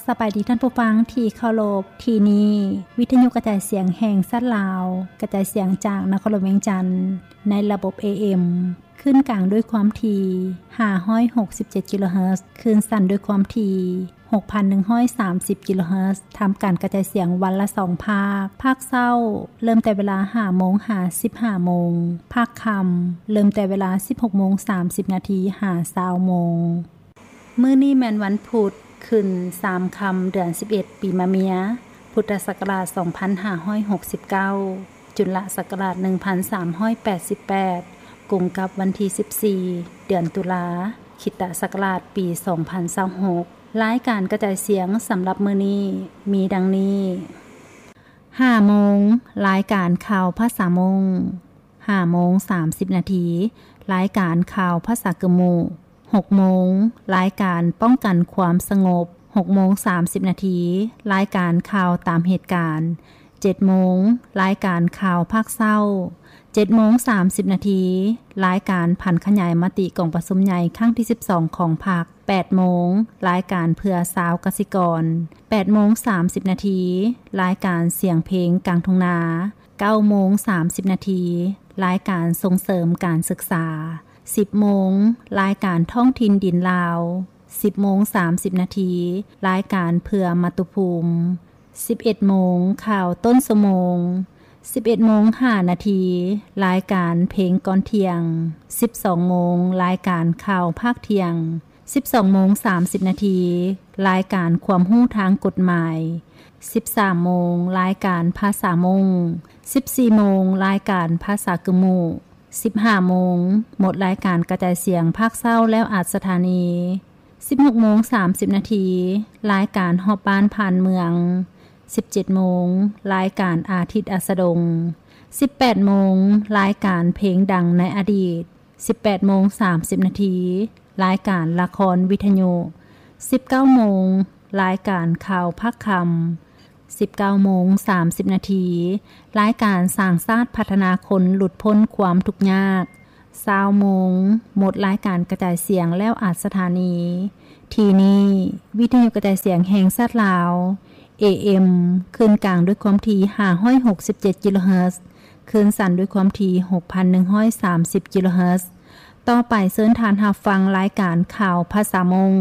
ສະບາຍດີທ່ານຜູ້ຟັງທີ່ເຄົາລົບ, ທີ່ນີ້ວິທະຍຸກະຈາຍສຽງແຫ່ງຊາດລາວ, ກະຈາຍສຽງຈາກນະຄອນຫຼວງວຽງຈັນ ໃນລະບົບ ເອເອັມ ຄື້ນກາງດ້ວຍຄວາມຖີ່ ຫ້າຮ້ອຍຫົກສິບເຈັດ ກິໂລເຮີດ, ຄື້ນສັ້ນດ້ວຍຄວາມຖີ່ ຫົກພັນໜຶ່ງຮ້ອຍສາມສິບ ກິໂລເຮີດ, ທຳການກະຈາຍສຽງວັນລະສອງພາກ, ພາກເຊົ້າເລີ່ມແຕ່ເວລາ ຫ້າໂມງ ຫາ ສິບຫ້າໂມງ, ພາກຄ່ຳເລີ່ມແຕ່ເວລາ ສິບຫົກໂມງ ສາມສິບນາທີ ຫາ ຊາວໂມງ. ມື້ນີ້ແມ່ນວັນພຸດ ຂຶ້ນສາມຄ່ຳ ເດືອນສິບເອັດ ປີມະເມຍ, ພຸດທະສັກກະລາດ ສອງພັນຫ້າຮ້ອຍຫົກສິບເກົ້າ, ຈຸລະສັກກະລາດ ໜຶ່ງພັນສາມຮ້ອຍແປດສິບແປດ, ກົງກັບວັນທີ ສິບສີ່ ເດືອນຕຸລາ, ຄຣິສຕະສັກກະລາດ ປີ ສອງພັນຊາວຫົກ. ລາຍການກະຈາຍສຽງສຳລັບມື້ນີ້ມີດັ່ງນີ້: ຫ້າໂມງ ລາຍການຂ່າວພາສາມົ້ງ, ຫ້າໂມງ ສາມສິບນາທີ ລາຍການຂ່າວພາສາກຶມມຸ, ຫົກໂມງ ລາຍການປ້ອງກັນຄວາມສະຫງົບ, ຫົກໂມງ ສາມສິບນາທີ ລາຍການຂ່າວຕາມເຫດການ, ເຈັດໂມງ ລາຍການຂ່າວພາກເຊົ້າ, ເຈັດໂມງ ສາມສິບນາທີ ລາຍການຜັນຂະຫຍາຍມະຕິກອງປະຊຸມໃຫຍ່ຄັ້ງທີ ສິບສອງ ຂອງພັກ, ແປດໂມງ ລາຍການເພື່ອຊາວກະສິກອນ, ແປດໂມງ ສາມສິບນາທີ ລາຍການສຽງເພງກາງທົ່ງນາ, ເກົ້າໂມງ ສາມສິບນາທີ ລາຍການສົ່ງເສີມການສຶກສາ, ສິບໂມງ ລາຍການທ້ອງຖິ່ນດິນລາວ, ສິບໂມງ ສາມສິບນາທີ ລາຍການເພື່ອມາຕຸພູມ, ສິບເອັດໂມງ ຂ່າວຕົ້ນຊົ່ວໂມງ, ສິບເອັດໂມງ ຫ້ານາທີ ລາຍການເພງກ່ອນທ່ຽງ, ສິບສອງໂມງ ລາຍການຂ່າວພາກທ່ຽງ, ສິບສອງໂມງ ສາມສິບນາທີ ລາຍການຄວາມຮູ້ທາງກົດໝາຍ, ສິບສາມໂມງ ລາຍການພາສາມົ້ງ, ສິບສີ່ໂມງ ລາຍການພາສາກຶມມຸ, ສິບຫ້າໂມງ ໝົດລາຍການກະຈາຍສຽງພາກເຊົ້າແລ້ວອັດສະຖານີ, ສິບຫົກໂມງ ສາມສິບນາທີ ລາຍການຮອບບ້ານຜ່ານເມືອງ, ສິບເຈັດໂມງ ລາຍການອາທິດອັດສະດົງ, ສິບແປດໂມງ ລາຍການເພງດັງໃນອະດີດ, ສິບແປດໂມງ ສາມສິບນາທີ ລາຍການລະຄອນວິທະຍຸ, ສິບເກົ້າໂມງ ລາຍການຂ່າວພາກຄ່ຳ, ສິບເກົ້າໂມງ ສາມສິບນາທີ ລາຍການສ້າງຊາດພັດທະນາຄົນຫຼຸດພົ້ນຄວາມທຸກຍາກ, ຊາວໂມງ ໝົດລາຍການກະຈາຍສຽງແລ້ວອັດສະຖານີ. ທີ່ນີ້ ວິທະຍຸກະຈາຍສຽງແຫ່ງຊາດລາວ ເອເອັມ ຄື້ນກາງດ້ວຍຄວາມຖີ່ ຫ້າຮ້ອຍຫົກສິບເຈັດ ກິໂລເຮີດ, ຄື້ນສັ້ນດ້ວຍຄວາມຖີ່ ຫົກພັນໜຶ່ງຮ້ອຍສາມສິບ ກິໂລເຮີດ. ຕໍ່ໄປເຊີນທ່ານຮັບຟັງລາຍການຂ່າວພາສາມົ້ງ.